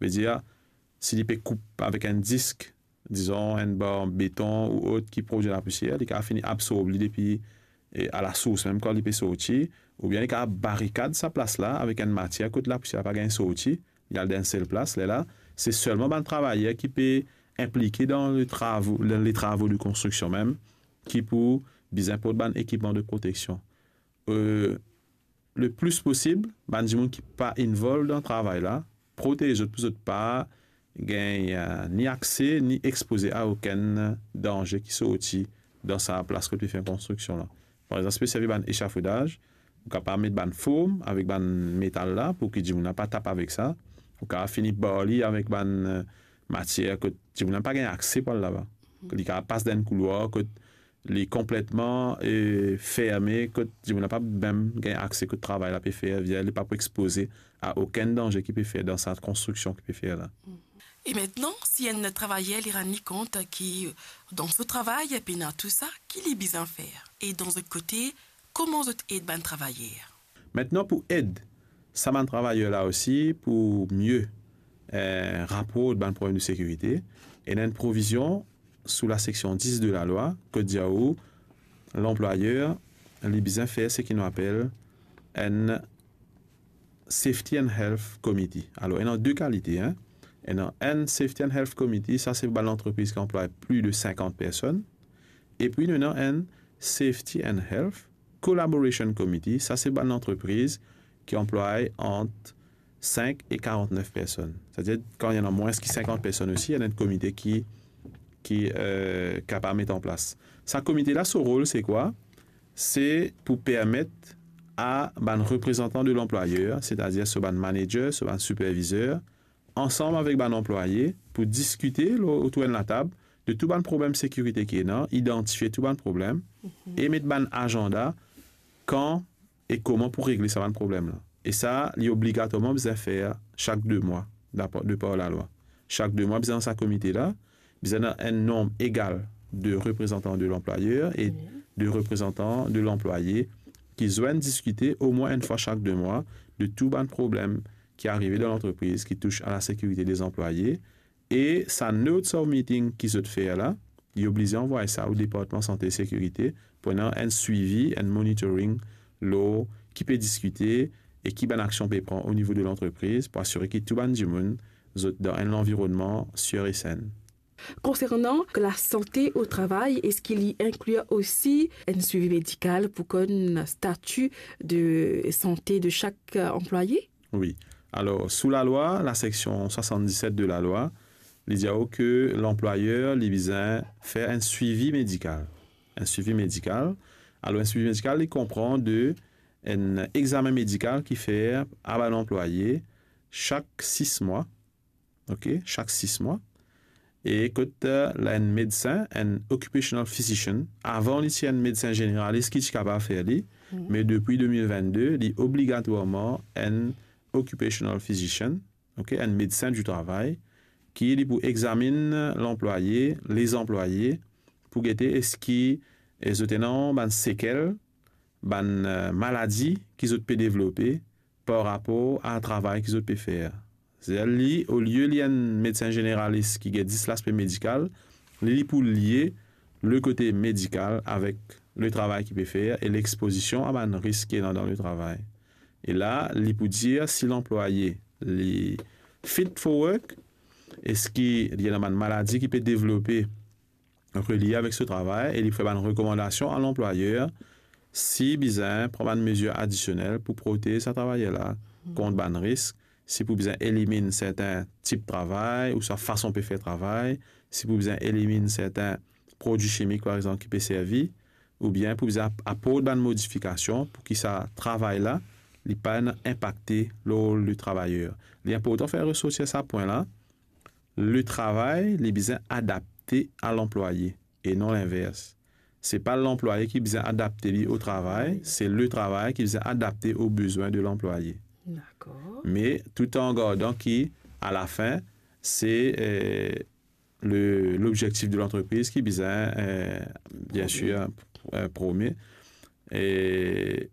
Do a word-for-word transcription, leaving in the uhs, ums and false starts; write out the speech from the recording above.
Vedir, si li pe koup avek enn disk, dizon enn bar beton ou ot ki prodwi lapousier, li kapav fini absorb li depi, e, a lasours mem kan li pe sorti, oubien li kapav barikad sa plas la avek enn matier kot lapousier la pa gagn sorti, li al dan enn sel plas. Lerla, se selman bann travayer ki pe inplike dan le travo, le, le travo de konstriksion mem, ki pou bizin port bann ekipman de proteksion. E, le plis posib, bann dimoun ki pa involve dan travay la, protez zot pou zot pa gagn, e, ni akse, ni expoze a okenn danze ki sorti dan sa plas kot pe fer konstriksion la. Par exanp, si pe servi bann echafodaz, ou kapav met bann form avek bann metal la pou ki dimoun la pa tap avek sa. Ou kapav fini bar li avek bann, e, matier kot dimoun la pa gagn akse pou al laba. Li kapav pas dan enn koulwar kot li konpletman, e, ferme, kot dimoun la pa mem gagn akse kot travay la pe fer, vedir li pa pou expoze a okenn danze ki pe fer dan sa konstriksion ki pe fer la. E aster, si enn travayer li rann li kont ki dan so travay pena tou sa, ki li bizin fer? E dan zot kote, kouma zot ed bann travayer? Aster, pou ed sa bann travayer la osi pou mie, e, raport bann problem de sekirite, ena enn provizion sou laseksion dis de lalwa, kot dir ou, lanplwayer, li bizin fer seki nou apel enn Safety and Health Committee. Alor, ena de kalite, en. Ena enn Safety and Health Committee, sa se bann lantrepriz ki anplway plis de sinkant personn. Epi nou ena enn Safety and Health Collaboration Committee, sa se bann lantrepriz ki anplway ant sink e karantnef personn. Setadir, kan ena mwins ki sinkant personn osi, ena enn komite ki, ki, e, kapav met an plas. Sa komite la, so rol, se kwa? Se pou permet a bann reprezantan de lanplwayer, setadir so bann manager, so bann sipervizer, ansam avek bann anplwaye, pou diskite lor, otour enn latab de tou bann problem sekirite ki ena, idantifie tou bann problem, e met bann azanda kan e kouma pou regle sa bann problem la. E sa, li obligatwarman bizin fer sak de mwa, dapar, depar lalwa. Sak de mwa, bizin sa komite la, bizin ena enn nonb egal de reprezantan de lanplwayer e de reprezantan de lanplwaye ki zwenn diskite omwin enn fwa sak de mwa de tou bann problem ki arive dan lantrepriz ki tous a lasekirite de zanplwaye. E sa notes of meeting ki zot fer la, li oblize anvway sa o Departman Sante e Sekirite pou ena enn swivi, enn monitoring lor ki pe diskite e ki bann aksion pe pran o nivo de lantrepriz pou asire ki tou bann dimoun zot dan enn lanvironnman sir e sen. Concernant la santé au travail, est-ce qu'il y inclut aussi un suivi médical pour connaître le statut de santé de chaque, euh, employé? Wi. Alor, sou lalwa, laseksion swasanndiset de lalwa, li dir ou ke lanplwayer, li bizin fer enn swivi medikal. Enn swivi medikal. Alor, enn swivi medikal, li konpran de enn examen medikal ki fer a bann anplwaye sak sis mwa. Ok, sak sis mwa. E kot, eh, la enn medsin, enn occupational physician, avan li ti enn medsin zeneralis ki ti kapav fer li, me depi de mil vennde, li obligatwarman enn occupational physician, ok, enn medsin di travay, ki li pou examinn lanplwaye, lezanplwaye, pou gete eski, eh, zot ena bann sekel, bann, eh, maladi ki zot pe devlope par rapor a travay ki zot pe fer. Setadir li, olie li enn medsin zeneralis ki gete zis laspe medikal, li, li pou lie le kote medikal avek le travay ki pe fer e lexpozision a bann risk ki ena dan le travay. E la, li pou dir si lanplwaye, li fit for work, eski li ena bann maladi ki pe devlope relie avek so travay e li fer bann rekomandasion a lanplwayer si bizin pran bann mezir adisionel pou protez sa travayer la kont bann risk, si pou bizin eliminn sertin tip travay ouswa fason pe fer travay, si pou bizin eliminn sertin prodwi simik, par exanp, ki pe servi, oubien pou bizin ap-, aport bann modifikasion pou ki sa travay la, li pa ena inpakte lor le travayer. Li inportan fer resortir sa pwin la, le travay, li bizin adapte a lanplwaye e non linvers. Se pa lanplwaye ki bizin adapte li o travay, se le travay ki bizin adapte o bezwin de lanplwaye. Dakor. Me tout an gardan ki, a lafin, se, eh, le, lobzektif de lantrepriz ki bizin, eh, biensir, eh, promie. E